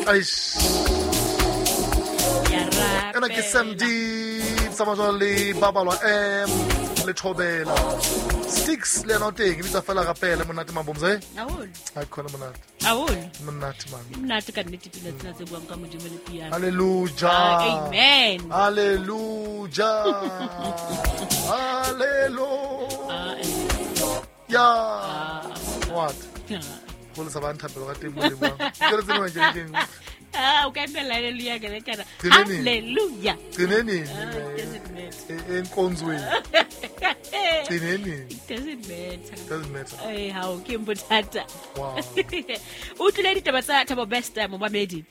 Aish. Ena ke Sam D tsamaya le Babalwa M le Thobela. Sticks le yena o teng e bitsa fela rapele monate mabomze. Haholo. Ha khona monate. Haholo. Monate man. Monate ka nnete pina tsena tse buang ka Modimo le piano. Hallelujah. Ah, amen. Hallelujah. Hallelujah. Ah, Yeah. What? Go le sa ba nthapelo ka teng mo leboang. Ke re tsena kerekeng. Ah, o ka emela hallelujah ke le kana. Gcine nini? Hallelujah. Gcine nini? Ah, it doesn't matter. Enkonzweni. Gcine nini? It doesn't matter. Doesn't matter. Eh, hao ke bothata. Wow. O tlile ditaba tsa Thabo Bester momamedi.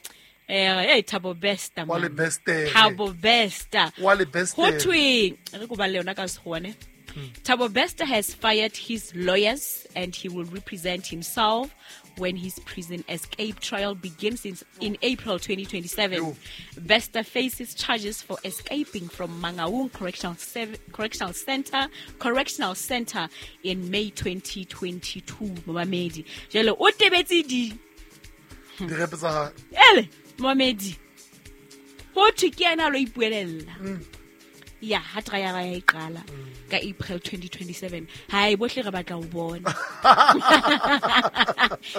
Eh, Thabo Bester. Wa le man. Bester. Thabo Bester. Wa le Bester. Ho thwe re ko balle yona ka sekgowa ne. Thabo Bester has fired his lawyers and he will represent himself when his prison escape trial begins in April 2027. Yo. Bester faces charges for escaping from Mangaung Correctional Center in May 2022. Momamedi. Jwale o tebetse di Direpe tsa hae. ele momamedi. Ho thwe ke yena a lo ipuelella. Ya ha trial ya e qala ka April 2027. Hai bohle re batla ho bona.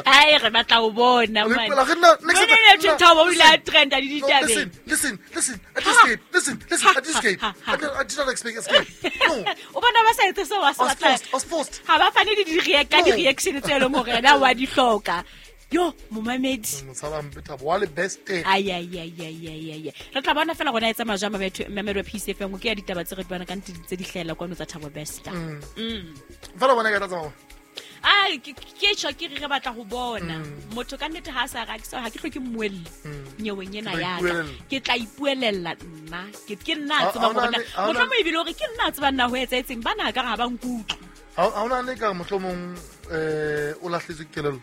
Hai re batla ho bona O man. ipuela re nna- No, no, no, Thabo o ile a trenda le No, ditabeng. listen, listen, listen. I did escape. Listen, listen. I did escape. Ha, ha, I did not expect escape. No, O bona ba sa etse seo ba se I was batlang. forced. I was forced. Ha ba fane le ka No. di-reaction tse leng hore yena wa di hloka. Yo, momamedi. Motshaba mpe Thabo. Wa le Bester. Ai, ai, ai, ai, ai, ai, ai. Re tla bona fela gona e tsamaya jwang mamedi wa Peace FM. Ke ya ditaba tse re di bona ka nnete tse di hlahella kwano tsa Thabo Bester. Fela bona ka tla tsamaya. Ai, ke tjho ke re re batla ho bona. Motho ka nnete ha a sa rake ha ke hloke mmuelli nyeweng ena Ke tla ya ka. ipuelella. Ke tla ipuelella nna. Ke nna a Ha- tsebang ha hore na ona le- ha ona- mohlomong ebile hore ke nna a tsebang na ho etsahetseng. Bana ka re ha ba nkutlwe. Ha ha ona le ka mohlomong o lahletswe ke kelello.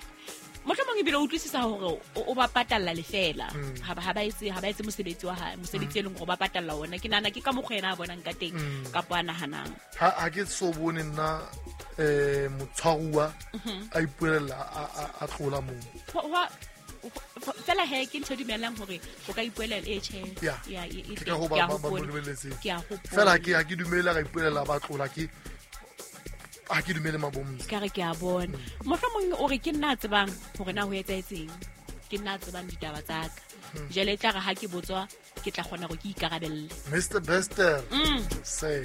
Mohlomong ebile o utlwisisa hore o ba patalla lefela. Ha ba etse mosebetsi wa hae, mosebetsi e leng hore o ba patalla ona. Ke nahana ke ka mokgwa yena a bonang ka teng kapa a nahanang. Ha ke so bone nna motshwaruwa a ipuelella a tlola moo. Fela he ke ntho e dumellang hore o ka ipuelela e tjhe. Yeah. Ya, e Ke teng. ka ho Ke a ba mo hopola. lebelletseng. Ke a hopola. Fela ha ke dumele a ka ipuelela ba tlola ke ha ke dumele mabomzi. Ka re ke a bona. Mohlomong o re ke nna a tsebang hore na ho etsahetseng. Ke nna a tsebang ditaba tsa ka. Jwale e tla re ha ke botswa ke tla kgona hore ke ikarabelle. Mr. Bester. Say.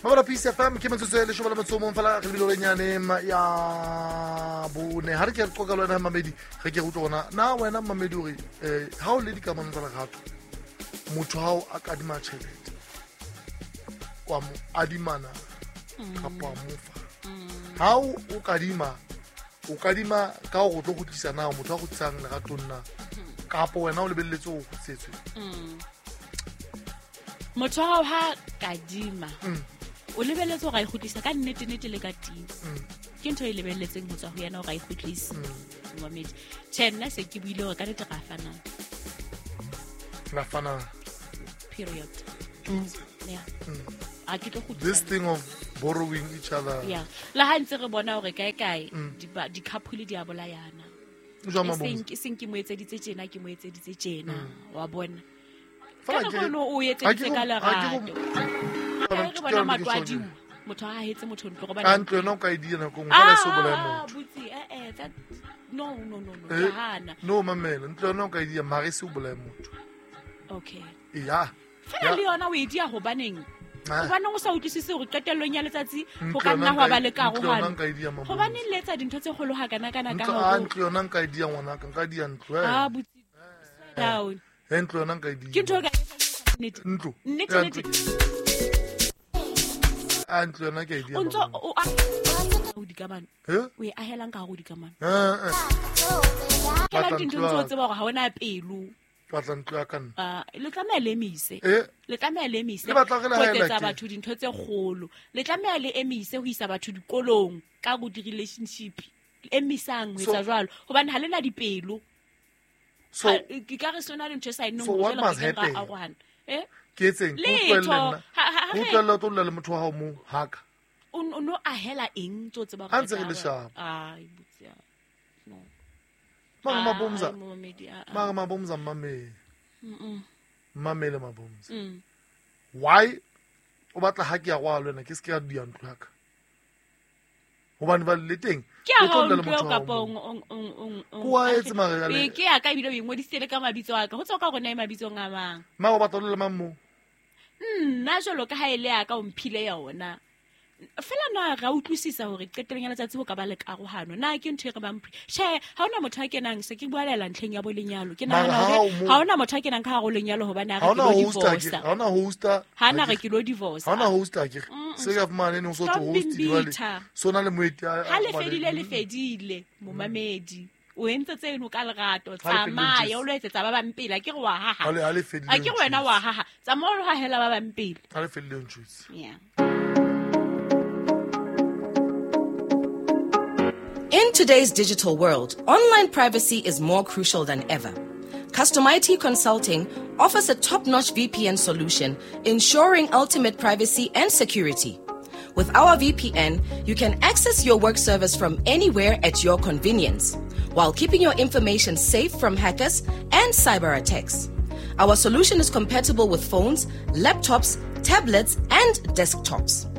Mabala Peace FM ke metsotso e leshome le metso o mong fela re lebile nyane ya bone. Ha re ke re qoqa le wena mamedi, re ke re utlwe hore na wena mamedi hore ha o le dikamanong tsa lerato, motho ha o a kadima tjhelete, wa mo adimana kapa wa mo fa. Ha o kadima, o kadima ka hore o tlo kgutlisa na motho a kgutlisang leratong na, kapa wena o lebelletse ho kgutlisetswe. Motho wa hao ha kadima, o lebelletse hore a e kgutlise ka nnete nnete le ka teng. Ke ntho e lebelletseng ho tswa ho yena hore a e kgutlise. Momamedi. Tjhe, nna se ke buile hore ka nnete ra fanang. Ra fanang. Period. Two. Yeah. Ha ke tlo kgutlisa. This thing of borrowing each other. Yeah. Le ha ntse re bona hore kae kae di-couple di a bolayana. Jwang Mabomzi? E seng ke mo etseditse tjena, ke mo etseditse tjena. Wa bona. Fela Ka ke nako eno o ha etseditse ke ka go- ha ke lerato. go- Ka re Ke bona yona matlo a ke tjho diuwa. Motho ha hetse motho ntlo gobane Ka ntlo yona o ka e dia nako e nngwe, fela e se o bolaye motho. botsi, that, no, no, no, no, ke hana. No, mamela, ntlo yona o ka e dia, mara e se o bolaye motho. Okay. Ya. Fela Ya. le yona o e dia hobaneng? Ah. Hobaneng o sa utlwisise hore qetellong ya letsatsi ho Ntlo ka yona nna hwa nka ba e- le ntlo yona karohano? nka e dia, Mabomzi. Hobaneng le etsa dintho tse kgolo hakanakana ka Ntlo, hore ah, ntlo yona nka e dia ngwanaka, nka dia ntlo, eh. Ah, botsi, down. Eh, ntlo yona nka e dia. Ke ntho e ka etsang nnete. Ntlo. Nnete, Ya, nnete. ntlo. Ah, ntlo yona ke e dia, O ntso Mabomzi. o a ho dikamano. Eh? O e ahelang ka hare ho dikamano. Eh, eh. Ahelang Batla dintho ntlo ntse o ya ka. tseba hore ha ona pelo. Batla ntlo ya ka nna. Ah, le tlameha le emise. Eh? Le tlameha le emise Le batla re le ho haela etsetsa ke? batho dintho tse kgolo. Le tlameha le emise ho isa batho dikolong ka go di-relationship. Emisang ho etsa jwalo. Hobane ha le na dipelo. So, Ha, ke ka re sona le ntho e sa enneng So hore what jwale re must keng ra happen? arohana. Eh? Ke etseng? Ke Letho. utlwelle nna. Ha Ke utlwelle o tlo dula le motho wa hao moo, haka. O no ahela eng tse o tseba hore Ha ntse re re tla le sharp. arohana? Ai, botsi ya. No. Mara Mabumza. Ah, momamedi, ah, ah. Mara Mabumza mmamele. Mmamele Mabumza. Mm. Why o batla ha ke ya kwa le wena ke se ke ya dia ntlo ya ka? Hobane ba le teng. Ke ya o tlo hao dula le ntlo motho eo wa kapa hao o- Ko wa etse mara jwale. Ee, ke ya ka ebile o inggodisitse le ka mabitso a ka go tswa ka gona e mabitsong a mang. Mara o batla o dula le mang moo? Nna jalo ka ha e le ya ka o mphile yona fela na ra utlwisisa hore qetelong ya letsatsi ho ka ba le karohano na ke ntho e re bang tjhe ha hona motho a kenang se ke bualela ntlheng ya bo lenyalo ke Mara nahana ha hore o mo- ha hona motho a kenang ka hare ho lenyalo hobane a Ha re ke hona lo host a ke. divorce Ha hona hosta. ha na re ke lo divorce Ha hona host a ke. Se ka fumane ne o so Stop tlo being host jwale. bitter. So na le moeti a ha le a- fedile le fedile momamedi o entse tseno ka lerato Ha le fedile tsamaya o o lo etsetsa ba bang pele a ke re wa haha Ha le ha le fedile. a ke re wena wa haha tsamaya o lo hahela ba bang pele Ha le fedile o ntjwetse. yeah. In today's digital world, online privacy is more crucial than ever. Custom IT Consulting offers a top notch VPN solution, ensuring ultimate privacy and security. With our VPN, you can access your work servers from anywhere at your convenience, while keeping your information safe from hackers and cyber attacks. Our solution is compatible with phones, laptops, tablets, and desktops.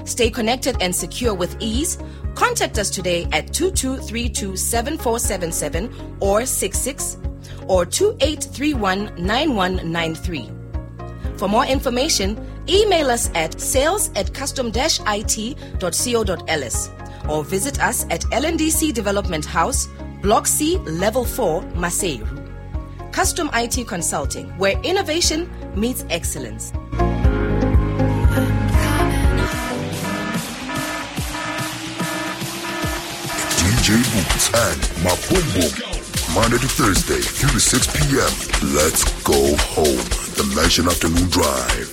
Stay connected and secure with ease. Contact us today at 2232 7477 or 66 or 2831 9193. For more information, email us at sales at custom it.co.ls or visit us at LNDC Development House, Block C, Level 4, Maseru. Custom IT Consulting, where innovation meets excellence. DJ Boots and Mapumbo. Monday to Thursday, 3 to 6 p.m. Let's go home. The Mansion Afternoon Drive.